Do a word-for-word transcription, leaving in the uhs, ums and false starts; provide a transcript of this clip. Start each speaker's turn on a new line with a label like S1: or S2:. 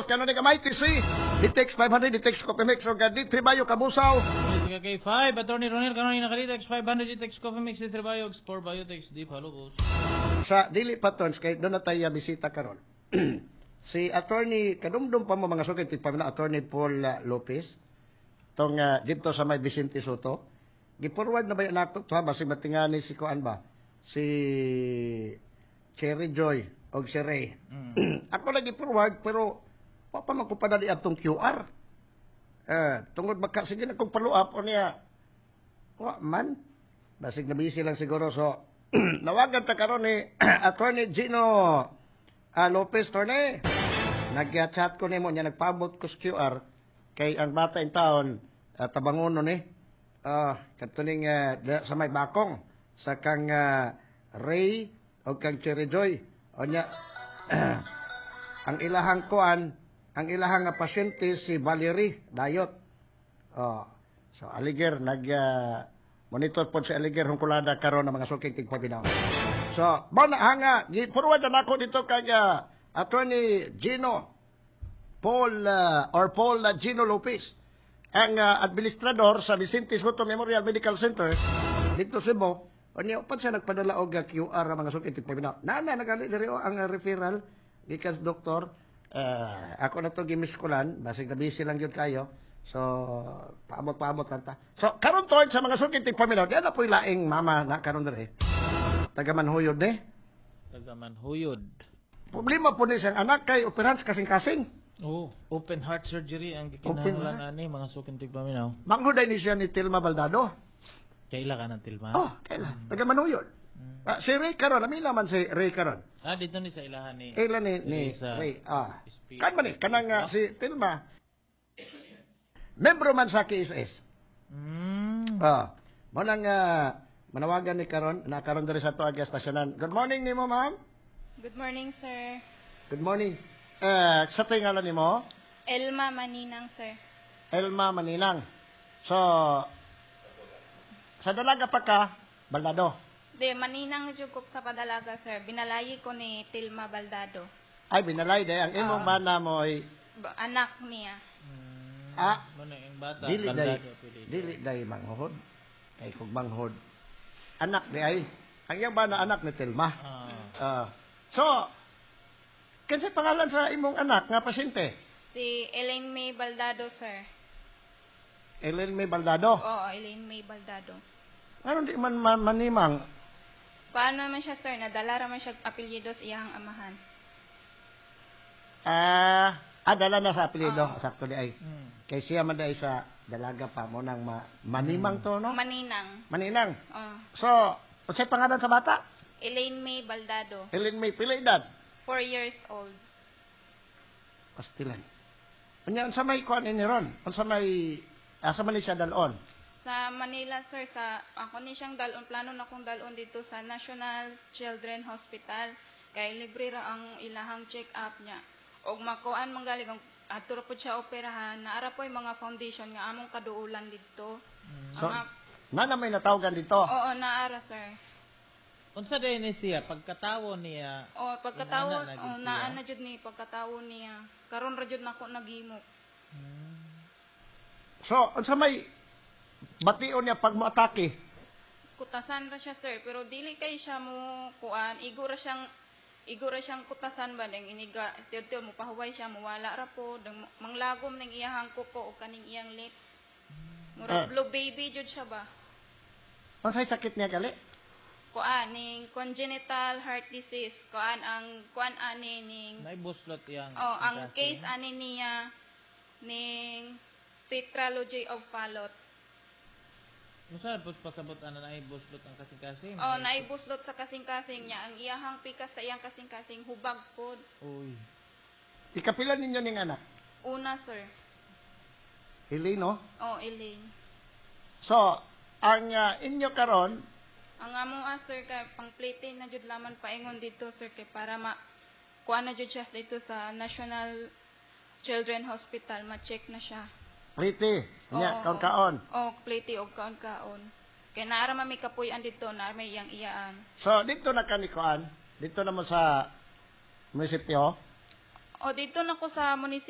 S1: Palobos, kanunay ka M I T C, D T X five hundred, D T X Coffee Mix, o D three Bayo Kabusaw.
S2: Sa K five, Attorney Ronel, kanunay naka D T X five hundred, D T X Coffee Mix, D three Bayo, four Biotex, D Palobos.
S1: Sa dili pa tons, kay doon na tayo bisita karon. Si Attorney, kadumdum pa mo, mga sukit, pa na Attorney Paul uh, Lopez, tong uh, dito sa may Vicente Soto. Gi-forward na ba yan ako? To, ha, basig matingani si kuan ba? Si Cherry Joy o si Ray. Ako lagi forward pero wa pa man ko padali atong Q R. Eh, tungod baka sige na kong follow up o niya. Wa man. Basig na busy lang siguro, so nawagan ta karon ni Attorney Gino ah, Lopez. Torne. Nag-chat ko nimo niya, nagpaabot ko sa Q R kay ang bata in town uh, tabangono ni. Ah, kadto ning ah, da- sa may bakong sa kang ah, Ray o kang Cherry Joy. O nya ang ilahang kuan, ang ilahang nga pasyente si Valerie Dayot. Oh, so Aliger nag ah, monitor pod si Aliger Hungkulada karon ng mga suking tigpaminaw. So, mao na hanga gi-forward na nako dito kay ah, Attorney Gino Paul ah, or Paul ah, Gino Lopez, ang ah, administrador sa Vicente Soto Memorial Medical Center dito sa Cebu. Unya upan siya nagpadala og ah, Q R ang mga suking tigpaminaw. Nana nagali diri oh, ang ah, referral gikan sa doktor. Eh, ako na to gimiskulan, basig na busy lang yun kayo. So, paabot-paabot lang ta. So, karon to sa mga suking tigpaminaw, di na po'y laing mama na karon diri. Taga Manhuyod ni.
S2: Taga Manhuyod.
S1: Problema po ni siyang anak kay operahan sa kasing-kasing.
S2: Oh, open heart surgery ang
S1: Open
S2: gikinahanglan ani, mga suking tigpaminaw.
S1: Manghuday ni siya ni Tilma Baldado.
S2: Kaila ka ng Tilma?
S1: Oh, kaila. Taga Manhuyod. Ah, si Ray karon, amila man si Ray karon.
S2: Ah, dito ni sa ilahan ni.
S1: Kaila ni, ni
S2: Sa
S1: Ray. Ah.
S2: S P.
S1: Kan man ni, kanang ah, si Tilma, membro man sa K S S.
S2: Mm.
S1: Ah, mo nang ah, manawagan ni karon, na karon diri sa tuag estasyonan. Good morning nimo, ma'am.
S3: Good morning, sir.
S1: Good morning. Eh, sa tingalan nimo?
S3: Elma Maninang, sir.
S1: Elma Maninang. So, sa dalaga pa ka, Baldado.
S3: De, Maninang jud ko sa padalaga, sir. Binalayi ko ni Tilma Baldado.
S1: Ay, binalay day. Ang imong bana mo ay,
S3: Ba- Anak niya.
S1: ah,
S2: Mo na yung bata.
S1: dili day,
S2: Baldado, apelyido.
S1: dili day manghod. Kay kung manghod, anak di ay. Ang iyang bana anak ni Tilma.
S2: Ah.
S1: Ah. So, kinsay pangalan sa imong anak nga pasyente?
S3: Si Elaine May Baldado, sir.
S1: Ellen May Baldado.
S3: Oo, Elaine May Baldado.
S1: Ano di man, man manimang?
S3: Paano naman siya, sir? Nadala raman siya apelyido sa iyang amahan.
S1: Ah, ah, dala na sa apelyido. Sakto di ay. Kay siya man day sa dalaga pa mo nang ma, manimang to, no?
S3: Maninang.
S1: Maninang.
S3: Oh.
S1: So, unsay pangalan sa bata?
S3: Elaine May Baldado.
S1: Ellen May, pila edad?
S3: Four years old.
S1: Pastilan. Unya unsa may kuan ini ron? Unsa may asa man ni siya dalon?
S3: Sa Manila, sir, sa ako ni siyang dalon, plano na kong dalon dito sa National Children Hospital. Kay libre ra ang ilahang check-up niya. Og makuan man gali kung adto ra pud siya operahan, naara po'y mga foundation nga among kaduulan didto.
S1: So,
S3: Ang,
S1: na may natawagan dito.
S3: Oo, naara, sir.
S2: Unsa day ni siya pagkatawo niya?
S3: O pagkatawo,
S2: Inaana na gid
S3: oh,
S2: siya?
S3: naa na jud ni pagkatawo niya. Karon ra jud nako naghimo.
S1: So, unsa may bation niya pag moatake?
S3: Kutasan ra siya, sir, pero dili kay siya mo kuan, igo ra siyang igo ra siyang kutasan ba dang iniga tiyo mo pahuway siya, muwala ra po dang manglagom ning iyahang kuko o kaning iyang lips. Mura
S1: Ah.
S3: blue baby jud siya ba.
S1: Unsay sakit niya gali?
S3: Kuan ning congenital heart disease, kuan ang kuan ani ning
S2: Naibuslot iyang
S3: oh, ang
S2: kasing.
S3: case ani niya ning tetralogy of Fallot.
S2: Unsa na pud pasabot ana, naibuslot ang kasing-kasing?
S3: Oh, naibuslot sa kasing-kasing niya. Ang iyahang pikas sa iyang kasing-kasing hubag pod.
S2: Uy.
S1: Ikapila ninyo ning anak?
S3: Una, sir.
S1: Helene,
S3: Oh, Elaine.
S1: So, ang ah, inyo karon
S3: Ang amo ah, sir, kay pangplite na jud laman paingon dito, sir, kay para ma kuha na jud siya dito sa National Children Hospital, ma-check na siya.
S1: Pretty, nya
S3: Oo.
S1: kaon-kaon.
S3: Oh, plite og kaon-kaon. Kay naara man may kapuy-an dito, naa may iyang iyaan.
S1: So, dito na ka ni kuan, dito naman sa munisipyo.
S3: O dito na ko sa munisipyo.